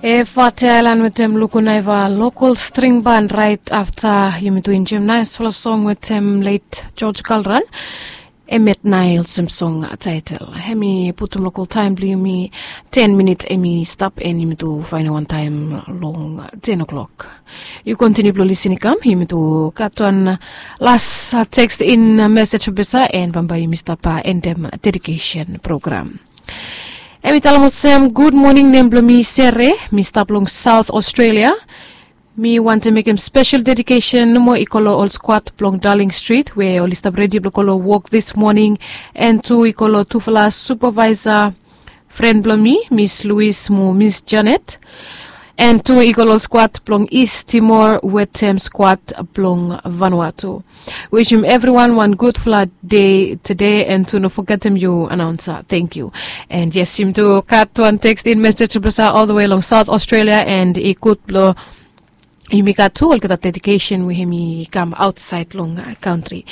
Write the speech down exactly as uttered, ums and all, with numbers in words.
E fate ailan wetem luku naiva lokol string ban rait afta yumi tu injem naisfala song wetem let George Kalran. E met nai olsem song taitel. Em i putum lokol taim bilong yumi ten minit em i stap en yumi tu fain wantaim long ten o'clock. Yu kontiniu bilong lisin i kam yumi tu gat wan las teks in mesej besa en bambae yumi stap endem dedikesen program. Em i talem olsem, gud moning, nem bilong mi Sere, mi stap long Saut Australia. Mi wantem mekem spesel dedikesen nomo i go long ol skwat bilong Darling Street we ol i stap redi bilong go long wok dis moning, en tu i go long tufala supavaisa fren bilong mi, Miss Louis mo Miss Janet, en tu i go long skwat bilong East Timor wetem skwat bilong Vanuatu. Wishim evriwan wan gudfala de tede, en tu no fogetem yu anaunsa. Tenkyu. En yes, yumi tu gat wan teks in mesej basa ol the way long Saut Australia, en i gud bilong yumi gat tu olgeta dedikesen we yumi kam ausait long kantri.